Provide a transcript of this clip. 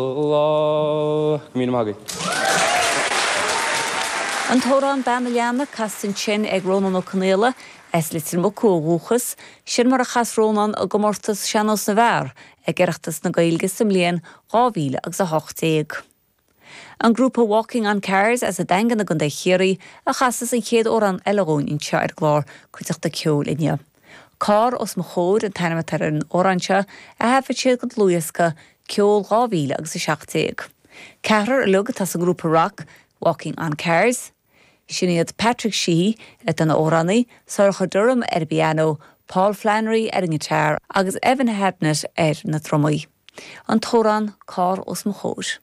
Go míle maith agaibh. An t-amhrán Bean an Leanna casta ansin ag Rónán Ó Conaola, as Leitir Mucú ó dhúchas. Sin mar a chas Rónán i gcomórtas Sean-Nós na bhFear ag Oireachtas na Gaeilge sa mbliain 2000 agus 18. An grúpa Walking on Cars as an Daingean i gContae Chiarraí a chasas an chéad amhrán eile dhúinn anseo ar an gclár Cuideachta Ceoil inniu. Carr os mo chomhair an t-ainm atá ar an amhrán seo a thaifead siad don dlúthdhiosca Ceol 2000 agus 17. Ceathrar uilig atá sa ngrúpa rac Walking on Cars. Sin iad Patrick Sheehy atá ina amhránaí, Sorcha Durham ar an bpianó, Paul Flannery ar an ngiotár agus Evan Hadnett ar na drumaí. An t-amhrán Carr os mo chomhair.